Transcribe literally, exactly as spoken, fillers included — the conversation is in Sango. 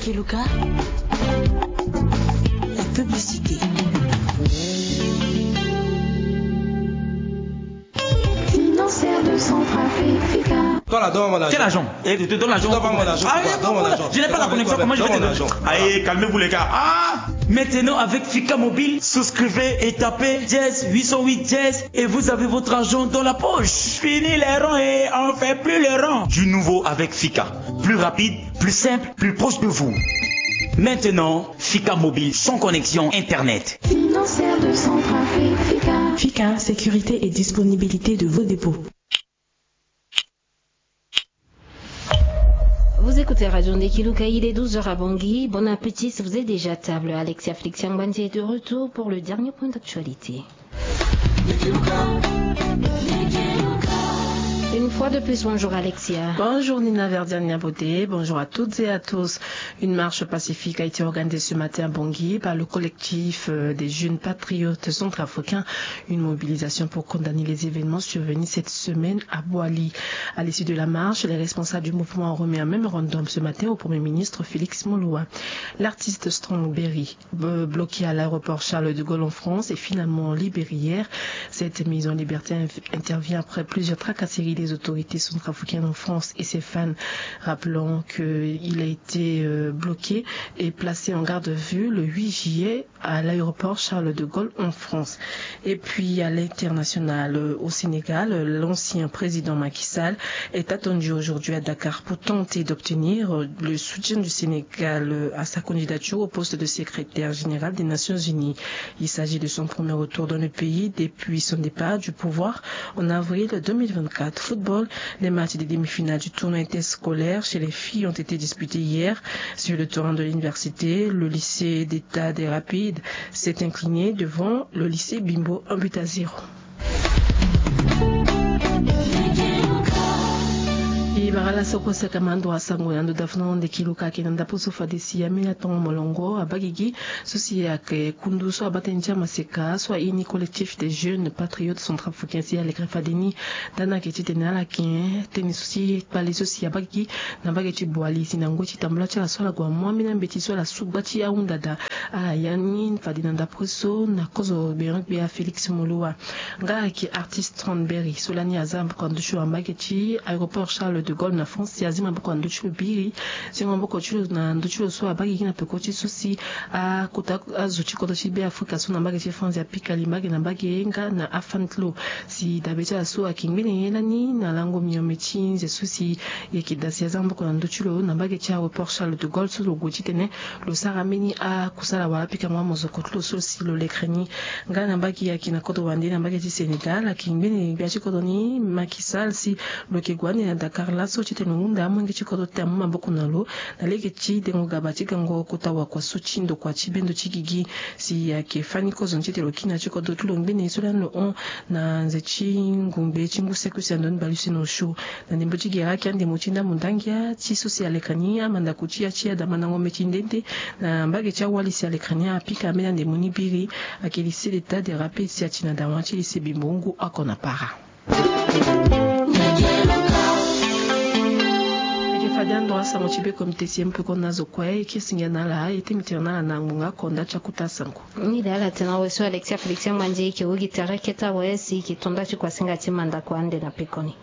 Kiluka, la publicité. Financière de Centrafrique. Quel agent ? Eh, donne l'argent. Ah, je n'ai pas la connexion, comment je vais te donner ? Allez, calmez-vous, les gars. Ah ! Maintenant, avec Fika Mobile, souscrivez et tapez dièse huit cent huit dièse et vous avez votre argent dans la poche. Fini les ronds et on fait plus les ronds. Du nouveau avec Fika. Plus rapide, plus simple, plus proche de vous. Maintenant, Fika Mobile sans connexion Internet. Financière de Centrafrique, Fika. Fika, sécurité et disponibilité de vos dépôts. Vous écoutez Radio Ndekiluka, il est douze heures à Bangui. Bon appétit si vous êtes déjà à table. Alexia Félix Yangbanzi est de retour pour le dernier point d'actualité. Une fois de plus, bonjour Alexia. Bonjour Nina Verdiane Niaboté, bonjour à toutes et à tous. Une marche pacifique a été organisée ce matin à Bangui par le collectif, euh, des jeunes patriotes centrafricains. Une mobilisation pour condamner les événements survenus cette semaine à Boali. À l'issue de la marche, les responsables du mouvement ont remis un mémorandum ce matin au Premier ministre Félix Moloua. L'artiste Strong Berry, b-, bloqué à l'aéroport Charles de Gaulle en France, est finalement libéré hier. Cette mise en liberté inf-, intervient après plusieurs tracasseries des autorités centrafricaines en France et ses fans. Rappelons qu'il a été, euh, bloqué et placé en garde à vue le huit juillet à l'aéroport Charles de Gaulle en France. Et puis à l'international, euh, au Sénégal, euh, l'ancien président Macky Sall est attendu aujourd'hui à Dakar pour tenter d'obtenir, euh, le soutien du Sénégal, euh, à sa candidature au poste de secrétaire général des Nations Unies. Il s'agit de son premier retour dans le pays depuis son départ du pouvoir en avril deux mille vingt-quatre. Football, les matchs des demi-finales du tournoi interscolaire chez les filles ont été disputés hier sur le terrain de l'université. Le lycée d'État des Rapides s'est incliné devant le lycée Bimbo, un but à zéro. E bara laso kue saka mando asango na ndo dafuno nde kiluka ake na ndapo so fade si ameni atongo molongo abagigi so si ake kundu so abata ndia maseka so aini collectif des jeunes patriotes centrafricains si alekre fade ni. Dana ake ti tene ala ken tene so si kpale so si abagigi na mbage ti Boali si na ngoi ti tambula ti ala so ala gue amua ambeni ambeti so ala su gba ti ahunda daa. Ala ya ni fade na ndapre so na kozo gbeon gbia Félix Moloua. Nga ayeke artiste Strong Berry so lani aza maboko na ndö ti lo na mbage ti aéroport Charles de Gaulle na France si azi maboko na ndö ti lo biri. Zingo maboko ti lo na ndö ti lo so abagigi na peko ti so si akota azo ti kodro ti Beafrika so na mbage ti France apika li mbage na mbage nga na afani ti lo. Si dabe ti ala so ayeke ngbene ye lani na lango miombe ti nze so si e yeke daa si aza maboko na ndö ti lo na mbage ti aéroport Charles de Gaulle so lo gue titene lo sara mbeni akusala wala apikango amozoko ti lo so si lo lekre ni. Nga na mbage ayeke na kodro wande na mbage ti Sénégal ayeke ngbene gbia ti kodro ni Macky Sall si lo yeke gue ande na Dakar laso titene lo hunda amolenge ti kodro ti tene amu maboko na lo na lege ti dengo gaba ti gango kota wakua so ti ndokua ti bendo ti gigi. Si ayeke fani kozo ni titene lo kiri na ya ti kodro ti lo ngbene so lani lo hon na nze ti ngongbe ti ngu seko si ando ni bale use na osio. Na ndembo ti gere ayeke andemo ti ndambo ndangia ti so si aleka ni amandako ti ya ti ya daa mandango meti nde nde na mbage ti awali si aleka ni apika ambeni andemo ni biri. Ayeke lycée d'État des Rapides si ati na dawa ti lycée Bimbo ngu oko na para. Ayeke fade ando asango ti be komite si e mu peko na azo kue e kiri singia na ala e temi tene na ala na ngbonga oko nda ti akuta asango. Ni daa ala tene na awe so Alexia Félix Yangbanzi e yeke wu gi tere kete awe si e yeke to nda ti kuasinga ti mandako ande na pekoni.